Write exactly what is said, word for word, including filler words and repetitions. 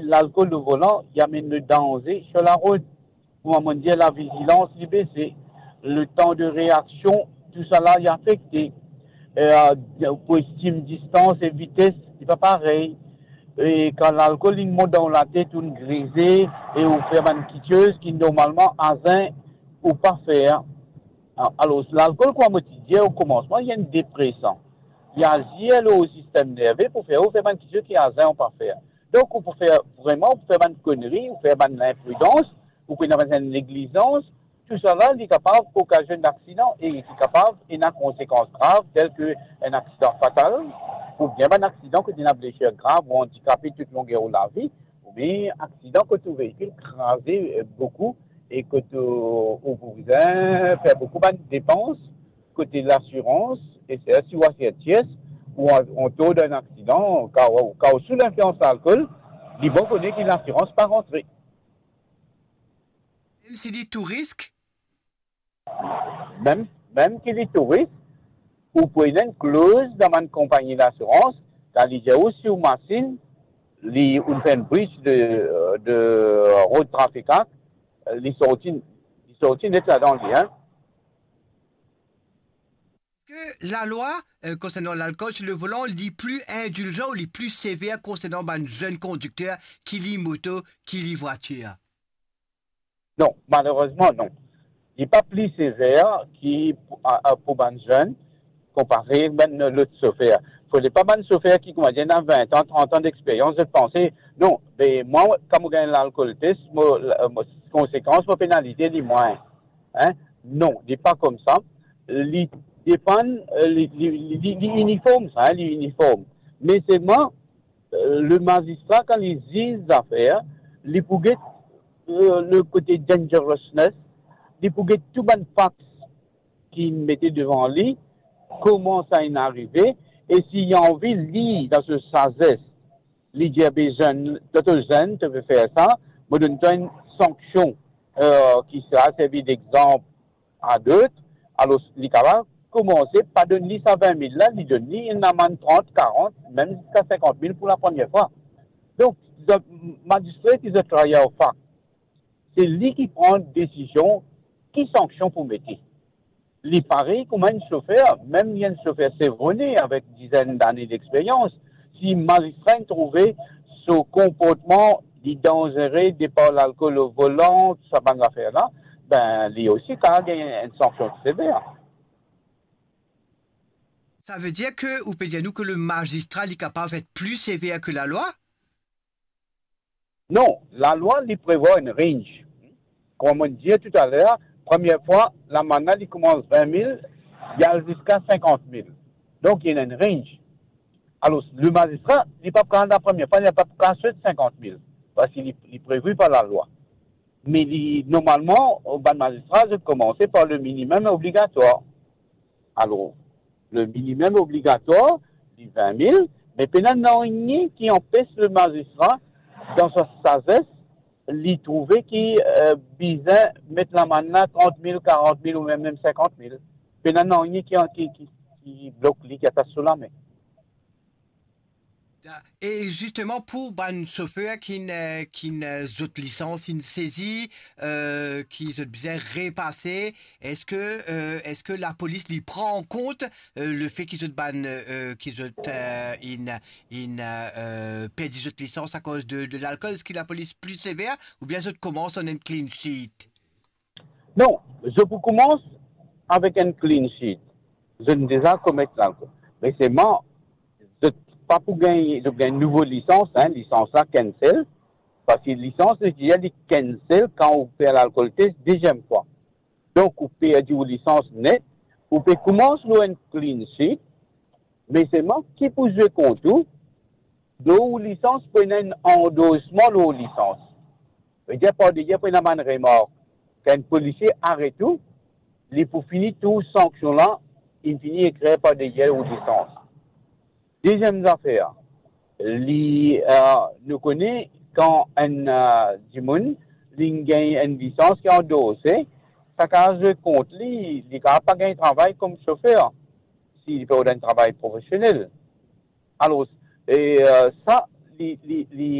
Lalkol o volan, li amenn le danze sir larot. Kouma mo dir, lavizilans li bese, letan de reaksion, tousala li afekte. Eh, pou estim distans e vites, li pa parey. E kan lalkol inn mont dan ou latet, ou'nn grize e ou fer bann kiksoz ki normalman a zen ou pa fer. A-, alor, lalkol, kouma mo ti dir o komansman, li enn depresan. Li azir lor ou sistem nerve pou fer ou fer bann kiksoz ki a zen ou pa fer. Donk, ou pou fer, vreman, ou pou fer bann konri, ou fer bann linpridans, ou pou ena bann neglizans, tousala, li kapav okazionn aksidan e li kapav ena konsekans grav, tel ki enn aksidan fatal, oubien bann aksidan kot ena blesir grav ou andikape tou longer ou lavi, oubien aksidan kot ou veikil kraze, eh, boukou e kot ou, ou pou bizin fer boukou bann depans kote lasirans, e se si ou asir tiers, ou an, antour dan aksidan, kan, kan ou sou linflians lalkol, li bon kone ki lasirans pa rantre. Mem si li tou risk? Mem, mem ki li tou risk, ou pou ena enn kloz dan bann konpagni lasirans, kan li dir ou si ou masinn, li, ou fer enn breach de, de road traffic act, li sorti, li sorti net ladan li, hein. Eski lalwa, eh, konsernan lalkol sir le volan, li pli indilzan ou li pli sever konsernan bann zenn kondikter ki li moto, ki li vwatir? Non, malerezman, non. Li pa pli sever ki pou, a, a, pou bann zenn, konpare bann lot sofer. Fode pa bann sofer ki, koumadir, ena vin an, trant an dexperyans, zot panse, non, be, mwa, kan mo gagn lalkol test, mo, la, mo, konsekans, mo penalize li mwin. Hein? Non, li pa koumsa. Li depann, eh, li, li, li, li, li iniform sa, hein, li iniform. Me selman, eh, le mazistra, kan li ziz zafer, li pou get, eh, le kote dangerousness, li pou get tou bann fact ki mete devan li, kouma sa inn arive, e si li anvi, li, dan so sazes, li dir, be zenn, to, to zenn, to pe fer sa, mo donn twa enn sanksion, eh, ki sera servi dexanp a dot. Alor, li kapav koumanse pa donn li sa vin mil la, li donn li enn lamann trant, karant, mem ziska sinkant mil pou lapremier fwa. Donk, zot, mazistra ki zot travay ar fact, se li ki pran desizion ki sanksion pou mete. Li parey kouma enn sofer, mem li enn sofer sevrone avek dizenn dane dexperyans, si mazistra inn trouve so konportman li danzere, depar lalkol o volan, tou sa bann zafer la, be, li osi kapav gagn enn sanksion sever. Savedir ki ou pe dir nou ki le mazistra, li kapav et pli sever ki lalwa? Non, lalwa, li prevwar enn range. Kouma mo dir toutaler, premie fwa, lamann la, li koumans vin mil, li al ziska sinkant mil. Donk, li ena enn range. Alor, le mazistra, li pa pou kapav, lapremier fwa, li pa pou kapav sot sinkant mil, parski li, li previ par lalwa. Me li, normalman, bann mazistra, zot koumanse par le minimum obligatwar. Alor, le minimum obligatwar, li vin mil, me pena nanye ki anpes le mazistra, dan so sazes, li trouve ki, eh, bizin met lamann la trant mil, karant mil ou mem, mem sinkant mil. Pena nanye ki, ki, ki, ki blok li, ki atas so lame. Da-, e zisteman pou bann sofer ki'nn, eh, ki'nn, eh, zot lisans inn sezi, eh, ki zot bizin repase, eski, eh, eski lapolis li pran an kont, eh, lefe ki zot bann, eh, ki zot, eh, inn, inn, eh, perdi zot lisans akoz de, de lalkol? Eski lapolis pli sever oubien zot koumans an enn clean sheet? Non, zot pou koumans avek enn clean sheet. Zot inn deza komet lalkol. Me selman, zot pa pou gagn, zot gagn nouvo lisans, hein, lisans la cancel, parski lisans, li dir li cancel kan ou fer lalkol test deziem fwa. Donk, ou perdi ou lisans net, ou pe koumans lor enn clean sheet, me selman ki pou zwe kont ou, lor ou lisans pou ena enn andorsman lor ou lisans. Vedir par deryer pou ena bann remark. Kan enn polisie aret ou, li pou fini tou sanksion la, inn fini ekrir par deryer ou lisans. Deziem zafer, li, eh, nou kone kan enn, eh, dimoun, li gagn enn lisans ki andorse, sa kapav zwe kont li, li kapav pa gagn travay kom sofer, si li pe rod enn travay profesionel. Alor, e, eh, sa, li, li, li,